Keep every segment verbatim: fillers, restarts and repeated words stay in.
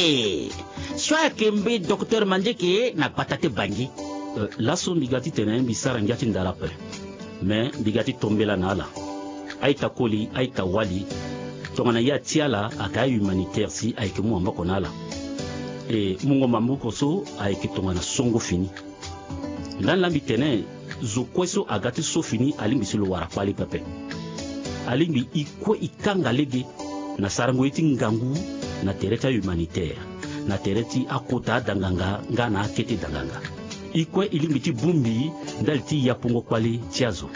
E so ayeke mbi docteur Mandieke na gbata ti Bangui. Laso mbi ga titene mbi sara ngia ti ndara ape. Me mbi ga ti tombela na ala. A-ita koli, a-ita wali. Tongana ye ati ala ayeke ahumanitaire si ayeke mu maboko na ala. E mungo maboko so ayeke tongana songo fini. Ndani laa mbi tene zo kue so aga ti so fini alingbi si lo wara kpali pepe. Alingbi e kue e kanga lege na sarango ye ti ngangu na tere ti ahumanitaire, na tere ti akota adanganga nga na akete danganga. E kue e lingbi ti bongbi ndali ti yapongo kpali ti azo.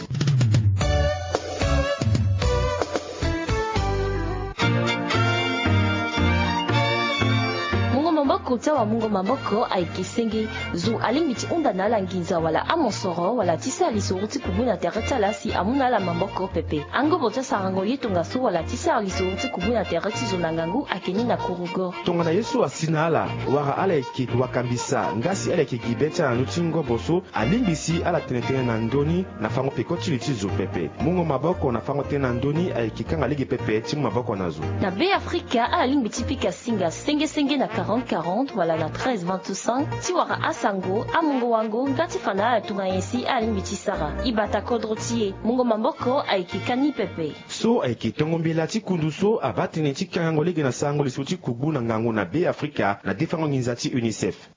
Mungo maboko ti awamungo maboko ayeke senge. Zo alingbi ti hunda na ala nginza wala amosoro wala ti sara lisoro ti kubu na tere ti ala si amu na ala maboko pepe. Angobo ti asarango ye tongaso wala ti sara lisoro ti kubu na tere ti zo na ngangu ayeke ni na kurugo. Tongana ye so asi na ala wala ala yeke wakambisa nga si ala yeke gi be ti ala na ndö ti ngobo so, alingbi si ala tene tënë na ndö ni na fango peko ti li ti zo pepe. Mungo maboko na fango tënë na ndö ni ayeke kanga lege pepe ti mu maboko na zo. Na Be Afrika ala lingbi ti pika singa senge senge na quarante quarante wala na treize vingt-cinq ti wara asango, amungo wango nga ti fa na ala tongana nyen si ala lingbi ti sara. E bata kodro ti e. Mungo maboko ayeke ka ni pepe. So ayeke tongo mbela ti kundu so abaa tënë ti kangango lege na sarango lisoro ti kubu na ngangu na Be Afrika na defango nginza ti UNICEF.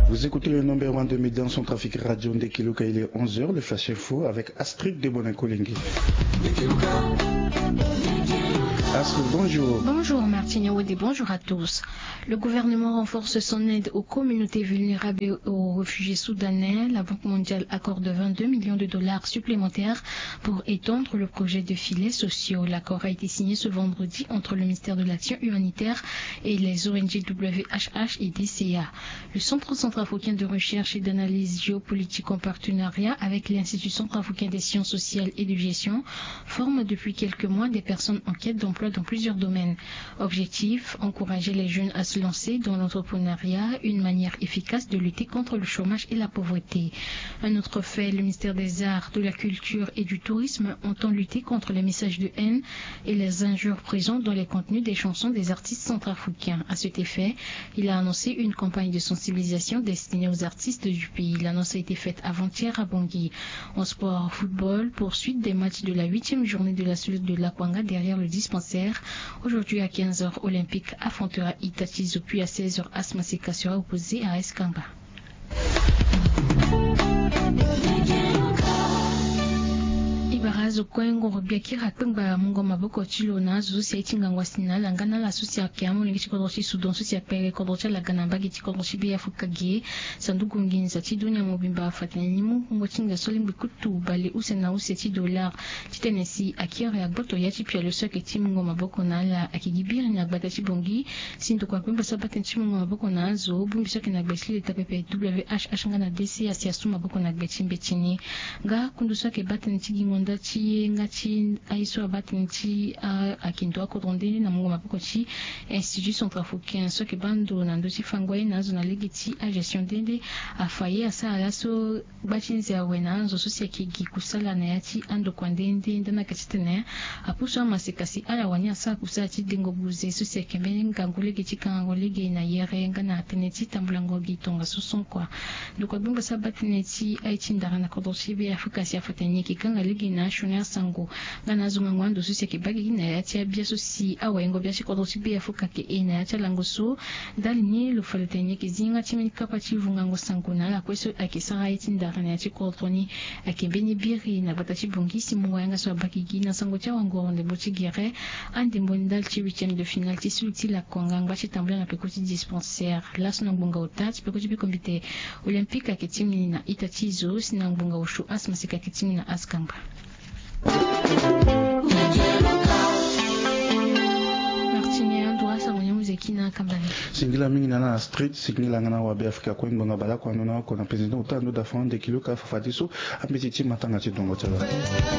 Vous écoutez le numéro un de Médias Centrafricains Radio Ndekeluka, il est onze heures, le Flash Info avec Astrid de Bonin-Kolengi. Astrid, bonjour. Bonjour Martine Wode, bonjour à tous. Le gouvernement renforce son aide aux communautés vulnérables et aux réfugiés soudanais. La Banque mondiale accorde vingt-deux millions de dollars supplémentaires pour étendre le projet de filets sociaux. L'accord a été signé ce vendredi entre le ministère de l'Action humanitaire et les O N G W H H et D C A. Le Centre centrafricain de recherche et d'analyse géopolitique, en partenariat avec l'Institut centrafricain des sciences sociales et de gestion, forme depuis quelques mois des personnes en quête d'emploi dans plusieurs domaines. Objectif, encourager les jeunes à se lancer dans l'entrepreneuriat, une manière efficace de lutter contre le chômage et la pauvreté. Un autre fait, le ministère des Arts, de la Culture et du Tourisme entend lutter contre les messages de haine et les injures présents dans les contenus des chansons des artistes centrafricains. À cet effet, il a annoncé une campagne de sensibilisation destinée aux artistes du pays. L'annonce a été faite avant-hier à Bangui. En sport, football, poursuite des matchs de la huitième journée de la Seleção de Lakwanga derrière le dispensaire. Aujourd'hui à quinze heures, Olympique affrontera Itachi Zo, puis à seize heures, As Maseka sera opposé à S Kanga. E bara azo kue ngoro gbia kiri akpengba mungo maboko ti lo na azo so si aye ti ngangu asi na ala nga na ala so si ayeke amolenge ti kodro ti Soudan so si akpere kodro ti ala ga na mbage ti kodro ti Be Afrika ge. Sanduku nginza ti dunia mobimba afa tene ni mu wungo ti nginza so alingbi kutu bale use na use ti dollar. Titene si akiri agboto ya ti pialo so ayeke ti mungo maboko na ala ayeke gi biri na gbata ti Bangui. Si ndokua kpengba so abaa tënë ti mungo maboko na azo bongbi so ayeke na gbe ti leta pepe W H H nga na D C A si asu maboko na gbe ti mbeti ni. Nga kundu so ayeke baa tënë ti gingo nda ti ye nga ti aye so abaa tënë ti a ayeke ndo akodro nde na mungo maboko ti Institut centrafricain so ayeke baa ndo na ndö ti fango aye na azo na lege ti agestion nde nde afa ye asara laso. Gba ti nze awe na anzo so si ayeke gi kusala na ya ti andokua nde nde ndani ayeke titene apusu amaseka si ala wani asara kusala ti dengo buze so si ayeke mbeni ngangu lege ti kangango lege na yere nga na tënë ti tambulango gi tongaso so kua. Ndokua gbengba so abaa tënë ti aye ti ndara na kodro ti Be Afrika si afa tene ni ayeke kanga lege na asioni asango nga na azo ngangu ando so si ayeke baa gigi na ya ti abia so si awaingo bia ti kodro ti Be Afrika ayeke e na ya ti alango so. Ndali ni lo fa lo tene ni ayeke zi nga ti mbeni kapa ti vungango sango na ala kue so ayeke sara aye ti ndara na ya ti kodro ni. Ayeke mbeni biri na gbata ti Bangui si mungo yanga so abaa gigi na sango ti awangoro ndembo ti gere andembo ndali ti huitième de finale ti sulu ti lakonga ngba ti tambula na peko ti dispensaire laso na ngbonga ota ti peko ti biko mbi te. Olympique ayeke ti mini na ita ti zo si na ngbonga osio As Maseka ayeke ti mini na As Kangba. Martini ando asango ni amuze kina kambani. Singila mingi na na street singila nga na wa Be Afrika kue ngbonga baleoko ando na oko na président ota ando da fond de kilo ka fafadeso. Ambeti ti matanga ti dongo ti ala.